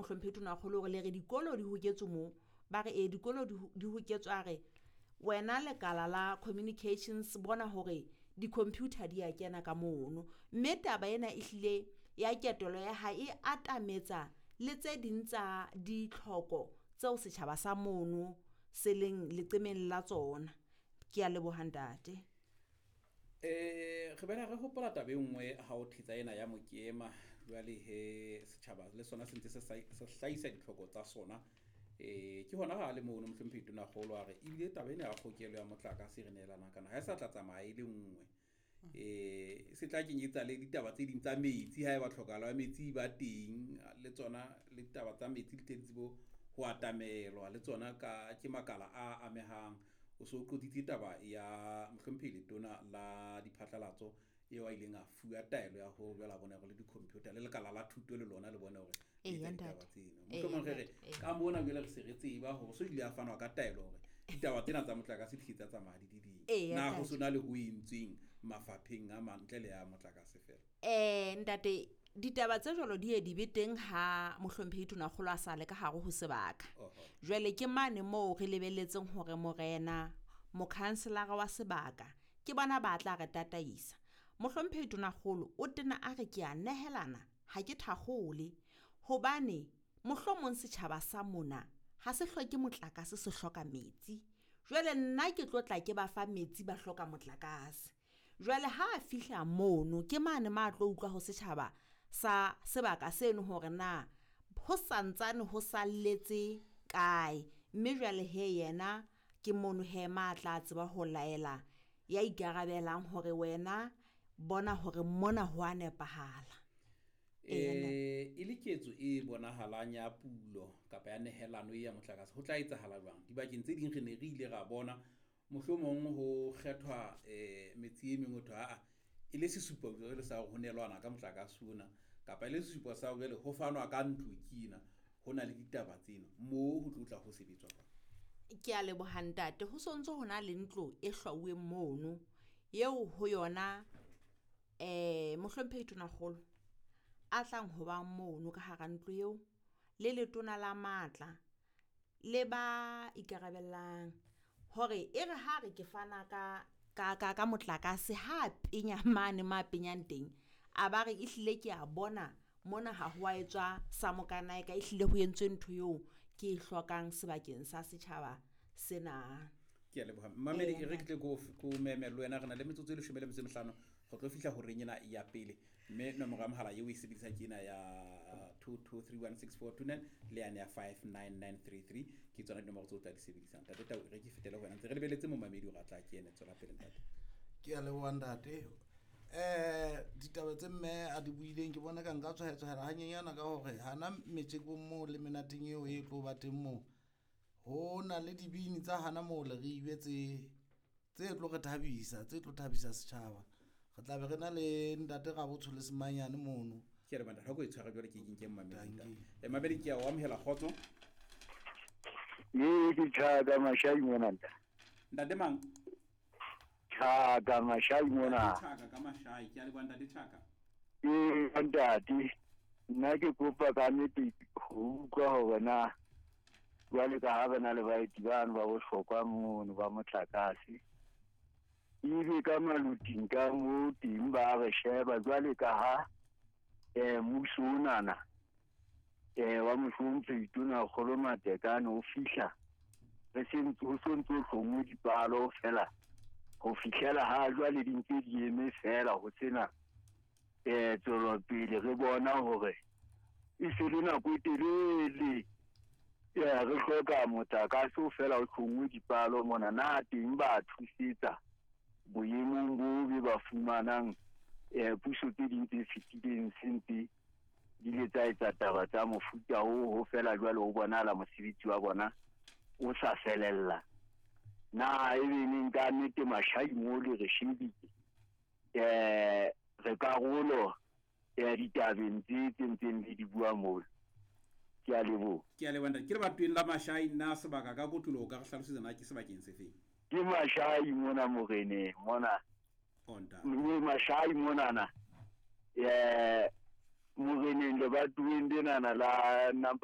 Mohlomphehi Tonakgolo hore le re dikolo di hoketswe moo. Ba re ee dikolo di hoketswe, a re wena lekala la communications bona hore di-computer di a kena ka mono. Mme taba ena ehlile ya ketelo ya hae e atametsa le tse ding tsa ditlhoko tseo setjhaba sa mono se leng leqemeng la tsona. Ke a leboha ntate. Re bela re hopola taba e nngwe ha o thetsa ena ya mokema. Jwale he setjhaba le sona se ntse se hlahisa ditlhoko tsa sona. Ke hona ha le mono Mohlomphehi Tonakgolo a re ebile taba ena ya kgokelo ya motlakase re nehelanang kana ha e sa tla tsamaya e le nngwe. Se tla kenyetsa le ditaba tse ding tsa metsi ha eba tlhokahalo ya metsi ba teng, le tsona le ditaba tsa metsi di tle di tsebe ho atamelwa le tsona ka ke makala a amehang. O so qotsitse taba ya Mohlomphehi Letona la Diphatlalatso eo a ileng a fuwa taelo ya ho jwale a bone hore le di-computer le lekala la thuto le lona le bone hore le etsa ditaba tseno. Mohlomong re re ka mona jwale re se re tseba hore so ile a fanwa ka taelo hore ditaba tsena tsa motlakase di tsa tsamaya di di ding. Na ho sona le ho entsweng mafapheng a mang ntle le ya motlakase fela? Ntate, ditaba tse jwalo di ye di be teng ha Mohlomphehi Tonakgolo a sa le ka hare ho sebaka. Jwale ke mane moo re lebelletseng hore morena, mokhanselara wa sebaka, ke bona ba tla re tataisa. Mohlomphehi Tonakgolo o tena a re ke a nehelana, ha ke thakgole, hobane mohlomong setjhaba sa mona ha se hloke motlakase, se hloka metsi. Jwale nna ke tlo tla ke ba fa metsi, ba hloka motlakase. Jwale ha a fihla mono ke mane ma tlo utlwa ho setjhaba sa sebaka seno hore na ho santsane ho salletse kae. Mme jwale he yena ke mono he ma tla tseba ho laela ya ikarabelang hore wena bona hore mona ho a nepahala. E le ketso e bonahalang ya pulo kapa ya nehelano ya motlakase ho tla etsahala jwang? Dibakeng tse ding re ne re ile ra bona mohlomong ho kgethwa metsi e meng ho thwe aa e le sesupo jwale sa hore ho neelwana ka motlakase ona, kapa e le sesupo sa jwale ho fanwa ka ntlo kena, ho na le ditaba tsena moo ho tlo tla ho sebetswa jwang? Ke a leboha ntate. Ho sontso ho na le ntlo e hlwauweng mono eo ho yona Mohlomphehi Tonakgolo a tlang ho ba mono ka hara ntlo eo le letona la matla le ba ikarabellang hore e re ha re ke fana ka motlakase, ha penya mane ma penyang teng, a ba re ehlile ke a bona mona ha ho a etswa sa mokanae ka, ehlile ho entswe ntho eo ke e hlokang sebakeng sa setjhaba sena. Ke a leboha. Mmamedi, e re ke tle ko meme le wena, re na le metsotso e 15 re tlo fihla horeng ena ya pele. Mme nomoro ya mohala eo o e sebedisang ke ena ya 22316429 le yane ya 59933, ke tsona dinomoro tseo o tla di sebedisang. Ntate Tau, re ke fetele ho wena, ntse re lebeletse momamedi hore a tla kene. Tswela pele ntate. Ke a leboha ntate. Ditaba tse mme a di buileng ke bona ka nka tswahetsohela hanyenyana ka hore hana metjekong moo le menateng eo e tlo ba teng moo, ho na le dibini tsa hana moo le re ibe tse tlo re thabisa, tse tlo thabisa setjhaba. Re tla be re na le ntate Rabotsho le Semanyane mono. Ke re banna, ha ko e tshware jwale ke ke mmamedi. Mmamedi, ke a o amohela, kgotso. Ee, ke Tjhaka Mashai mona ntate. Ntate mang? Tjhaka Mashai mona. Tjhaka ka Mashai, ke a leboha ntate Tjhaka. Ee, ntate, nna ke kopa ka nnete ho utlwa hore na jwale ka ha re na le baeti bano ba bohlokwa mono ba motlakase, ebe ka maluting ka moo teng ba re sheba jwale ka ha mmuso onana wa Mohlomphehi Tonakgolo Matekane o fihla re se ntse ho sontso ho hlongwe dipalo fela ho fihlela ha jwale di ntse di eme fela ho sena tswelopele. Re bona hore e se le nako e telele re hloka motlakase o fela o hlongwe dipalo mona, na teng ba thusetsa boemong bo be ba fumanang puso tse ding tse fetileng se ntse di le tsa etsa taba tsa mofuta oo, ho fela jwale ho bonahala mosebetsi wa bona o sa felella. Na ebe neng ka nnete Mashai mo le re shebile re karolo ya ditabeng tse tse ntseng le di bua moo? Ke a leboha. Ke a leboha ntate. Ke lebatoweng la Mashai, na sebaka ka kotloloho ka re hlalosetsa na ke sebakeng se feng? Ke Mashai mona moreneng mona. Oh, ntate. Mme Mashai monana moreneng lebatoweng lenana la number